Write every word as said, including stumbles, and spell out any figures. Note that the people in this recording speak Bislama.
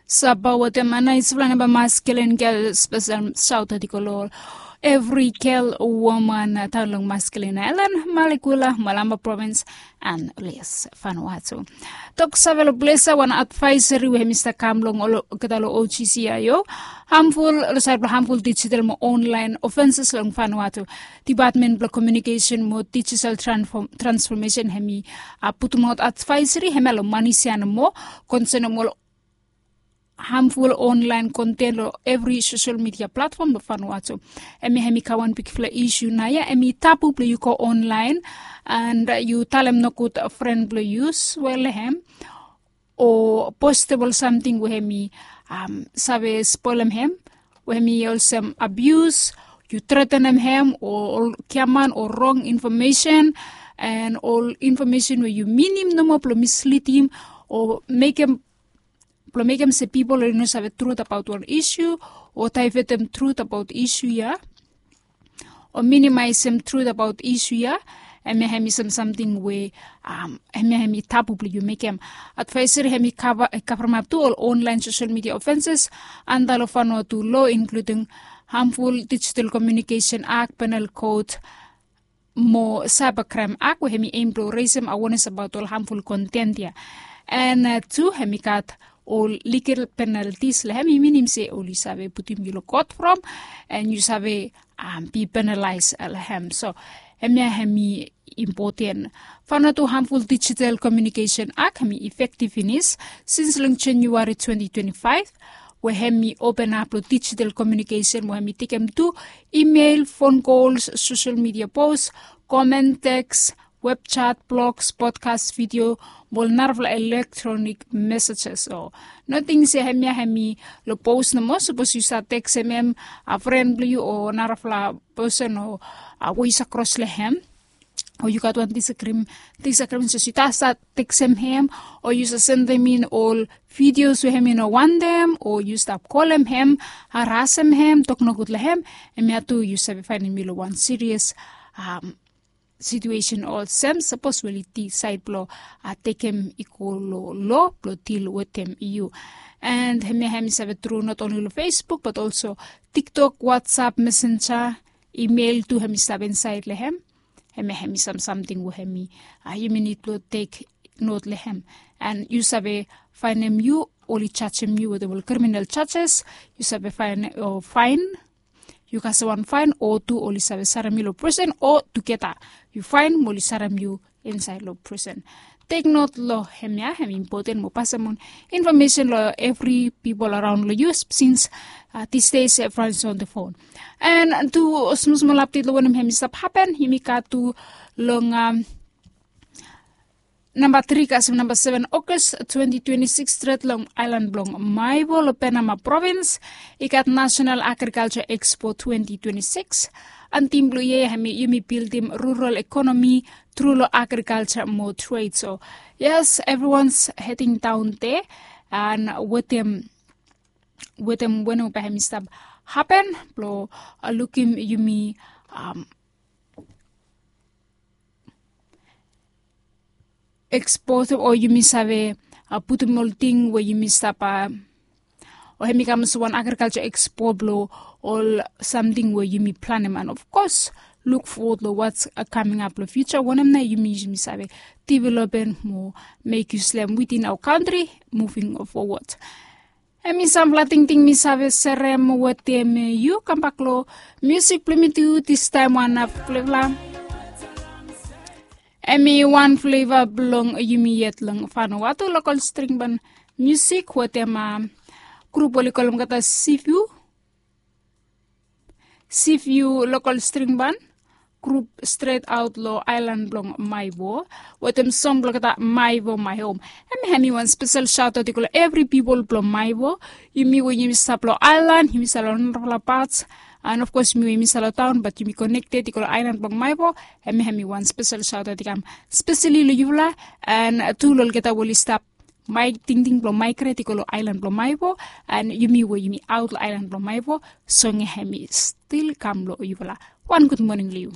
Sapa wetem a naisfala namba maskelen gel spesel saut atikol ol evri gel woman taon long maskelen ailan, malekula, malamba provins, and les fanwatu. Tok save long plesa wan advaiseri we hem i stap kam long olgeta long O G C I O, hamful long sait blong hamful digital mo online ofenses long fanwatu. Department blong communication mo digital transformation hem i putumaot advaiseri hem ya long manisia nomo konsenem ol hamful online konten long evri sosel midia platfom blong fanwatu. Hem ya hem i kam wan bigfala isu nao ya hem i tabu blong yu go online and yu talem nogud fren blong yu swel hem o postem ol samting we hem i save spolem hem, we hem i olsem abius, yu tretenem hem o ol giaman o rong infomesen, and ol infomesen we yu minim nomo blong mislidim o mekem blong mekem se pipol oli no save trut abaot wan isu o daevetem trut abaot isu ya o minimaesem trut abaot isu ya. Hem ya hem i sam samting we hem ya hem i tabu blong yu mekem. Advaiseri hem i kavaremap tu ol online sosel midia ofenses anda long fanwatu lo, inkluding hamful digital komiunikesen ak, penal kot mo saiba kraem ak we hem i em blong resem awenes abaot ol hamful konten ya. And tu hem i gat ol ligel penaltis long hem, i minim se oli save putum yu long kot from and yu save bi penalaes long hem. So hem ya hem i impoten. Fanwatu hamful digital komiunikesen ak hem i efektiv finis sins long januari twenti twenti faef, we hem i openap long digital komiunikesen we hem i tekem tu imel, fon kols, sosel midia pos, komen, teks, web chat, blogs, podkas, vidio mo ol narafala elektronik mesejes. O nating se hem ya hem i long pos nomo, sapos yu save teksem hem, a fren blong yu o narafala pesen o we yu save kros long hem, o yu gat wan disagrim disagrim sapos yu save teksem hem o yu save sendem in ol vidios we hem i no wantem o yu stap kolem hem, harasem hem, tok nogud long hem, hem ya tu yu save faenem yu long wan sirias situesen olsem sapos we oli disaed blong tekem i go long lo blong dil wetem yu. And hem ya hem i save tru not onli long facebook bat olso tiktok, whatsapp, messenja, imel tu hem i stap insaed long hem. Hem ya hem i sam samting we hem i yumi nid blong tek not long hem. And yu save faenem yu oli jajem yu wetem ol kriminal jajes, yu save faenem o faen yu kasem wan faen o tu oli save sarem yu long presen o tugeta yu faen mo oli sarem yu insaed long presen. Tek not long hem ya hem i impoten mo pasem on infomesen long evri pipol araon long yu sins disde se evriwan is on the fon. And tu smosmol apdet long wanem hem i stap hapen yumi gat tu long namba tri kasem namba seven ogas twenti twenti sikis stret long aelan blong maivo long penama provins i gat nasenal agrikalja ekspo twenti twenti sikis. Antim blong yia hem yumi bildim rural ekonomi tru long agrikalja mo tred so yes evriwan is heding daon de. And wetem wetem wanem bae hem i stap hapen blong lukim yumi eksposem o yumi save putum ol ting we yumi stap o hem i kam olsem wan agrikalja ekspo blong ol samting we yumi planem and of kos luk fowod long wats kaming ap long fiuja wanem nao yumi yumi save developem mo mek yu slem witin aoa kantri muving fowod. Hem i sampela tingting mi save serem wetem yu kambak long musik blong mi tu distaem wan flevla. Hem i wan fleva blong yumi yet long fanowatu lokol stringban musik wetem grup oli kolem olgeta siviu siviu lokol stringban grup stret aot long aelan blong maivo wetem song blong olgeta maivo mai hom. Hem hem i wan spesel saotaot i go long evri pipol blong maivo. Yumi we yumi stap long aelan yumi stap long narafala pats and of kos yumi we yumi stap long taon bat yumi konekted i go long aelan blong maivo. Hem hem i wan spesel saotaot i kam speseli long yufala and tu long olgeta we oli stap mai tingting blong maigret i go long aelan blong maivo. And yumi we yumi aot long aelan blong maivo song ya hem i stil kam long yufala. Wan gud moning long yu.